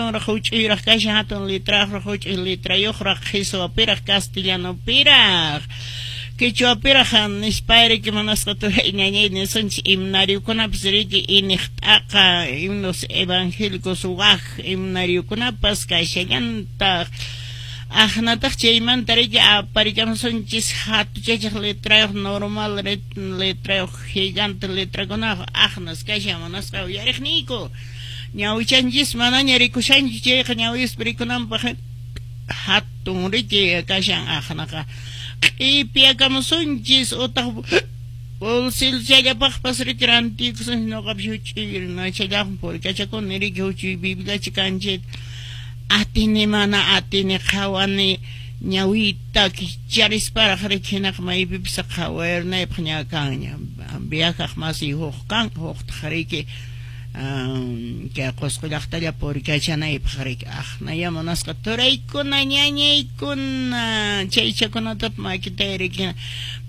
Hatunraq huch'uyraq kashan, hatun letrayuqraq huch'uy letrayuqraq, qheswapiraq, castellanopiraq, quechuapiraq nispa riki munasqa turay ñañay nisunchis. Himnariokunapas riki iniq t'aqa, himnos evangélicos, wak himnariokunapas kashallantaq. Aqnataq chaymanta riki aparikamusunchis hatuchachaq letrayuq, normal letrayuq, gigante letrakunayuq aqnas kashan munasqa uyariqniyku. Ñawichanchis manaña rikushanchu chayqa ñawispa rikunanpaq hatun riki kashan aqnaqa. Q'ipiakamusunchis utaq bolsilchallapaqpas riki rantikusunchis. Ñuqapas huch'uy runachallapaq purikachakuni riki huch'uy bibliacha kan chayta atini mana atini qhawani ñawiyta kicharisparaq riki hinaqa maypipas qhawarinaypaq ña kanña. Viajaq masiy huk kan, huktaq riki kay Qusqu llaqtalla purikachanaypaq riki. Aqnaya munasqa turaykuna ñañaykuna chaychakunatapas makitay riki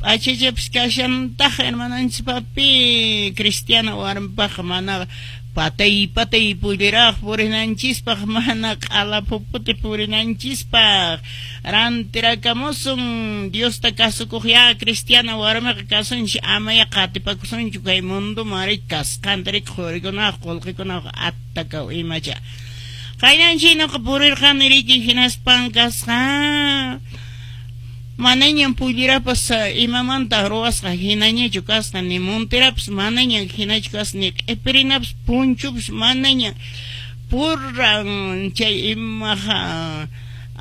p'achachapas kashantaq hermananchis papi cristiana warmipaqqa mana patay patay pulliraq purinanchispaq, mana q'ala phuputi purinanchispaq. Rantirakamusun Diosta kasukuq ya cristiana warmiqa kasunchis, amaya qatipakusunchu kay mundoman riki kasqanta riki qurikunaq qullqikunaq attakaw imacha. Qaynanchik ñuqa purirqani riki hinaspan kasqa manañam pullirapas imamanta ruwasqa hinañachu kasqa, ni monterapas manaña hinachu kasqa, ni q'ipirinapas punchupas manaña purran chay imaqa.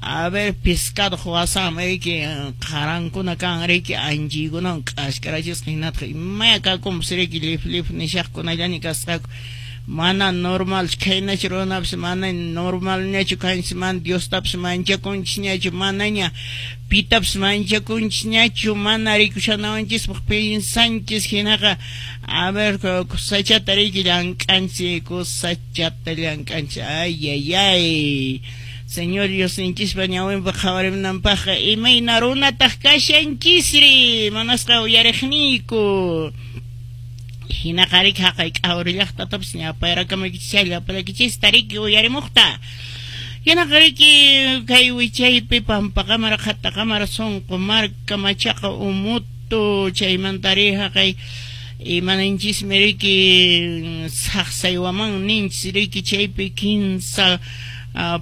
A ver, pescado wasanmi riki qarankuna kan riki anchiykunawan k'askarachisqa hinataq imaya kakunpas riki lif lif nishaqkunallaña kasqaku. Mana normalchu khaynachu runapas mana normalñachu kanchis, mana Diostapas manchakunchisñachu, manaña pitapas manchakunchisñachu, mana rikushanawanchispaq piensanchis hinaqa. A ver, kusachata riki llank'anchis, kusachata llank'anchis. Ay, ay, ay. Señor Diosninchispa ñawinpaq qhawarimunanpaqqa imayna runataq kashanchisri manasqa uyariqniyku. Hinaqa riki haqay k'awri llaqtatapas ñapayrakamuykichis llapallaykichista riki uyarimuqta. Hinaqa riki kay wichaypi Pampaqamara, Qhataqamara, Sunqu Marka, Machaqa, Umutu, chaymanta ri haqay imananchismi riki Saqsaywaman ninchis riki chaypi kinsa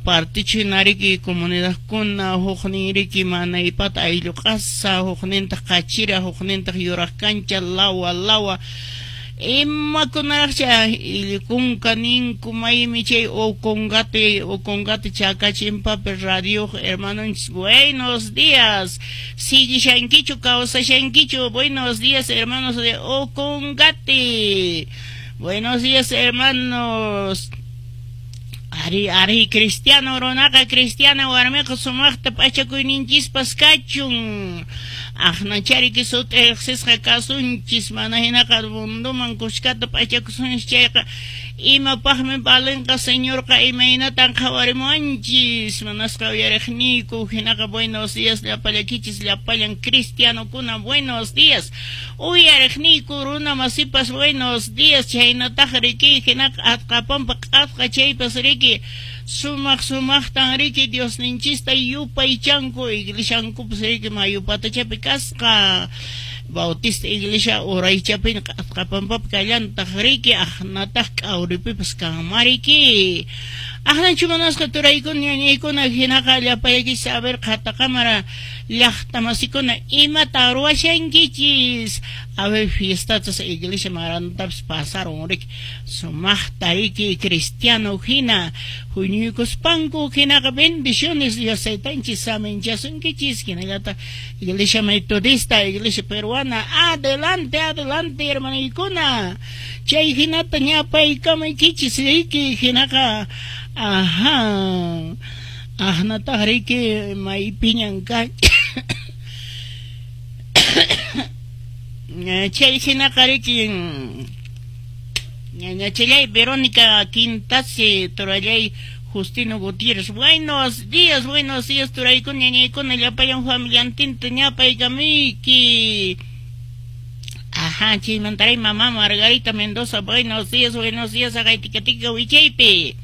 partichu hina riki comunidadkuna, huknin riki Manaypata ayllu q'asa, huknintaq Qachira, huknintaq Yuraq Kancha, Lawa Lawa, imakunaraqcha Illikunka ninku maymi chay Ocongate, Ocongate Chacachimpapi radio hermanonchis. Buenos días, siguishankichu, kawsashankichu. Buenos días, hermanos de Ocongate. Buenos días, hermanos. Ari, ari, cristiano runaqa, cristiana warmiqa sumaqta p'achakuyninchispas kachun. Aqnachariki sut'i riqsisqa kasunchis, mana hinaqa mundoman kuskata p'achakusunchis chayqa imapaqmi valenqa, Señorqa imaynatan qhawarimuwanchis manasqa uyariqniyku. Hinaqa buenos días llapallakichis, llapallan cristianokuna, buenos días. Uyariqniyku runa masipas buenos días. Chaynataq riki hinaqa atqapampa q'atqa chaypas riki sumaq sumaqtan riki Diosninchista yupaychanku, iglesiankupas riki mayu patachapi kasqa. Bautista iglesia uraychapin q'atqapampapi kallantaq riki, aqnataq k'awripipas kanmariki. Aqnachu munasqa turaykuna ñañaykuna hinaqa llapallaykichis a ver Qhataqamara llaqta masikuna imata ruwashankichis. A ver, fiestatas iglesia marantapas pasaron riki sumaqta riki cristiano hina huñuykuspanku. Hinaqa bendiciones, Dios taytanchis saminchasunkichis. Hinallataq iglesia metodista, iglesia peruana, adelante, adelante, hermanaykuna. Chay hinata ñapaykamaykichis riki hinaqa. Ajá, aqnataq riki maypiñan kan chay hinaqa riki ñañachallay Verónica Quintasi, turallay Justino Gutiérrez. Buenos días, buenos días, turaykuna, ñañaykuna, llapallan familiantinta ñapaykamuyki. Ajá, chaymantaray mamá Margarita Mendoza, buenos días, buenos días, haqay tika wichaypi.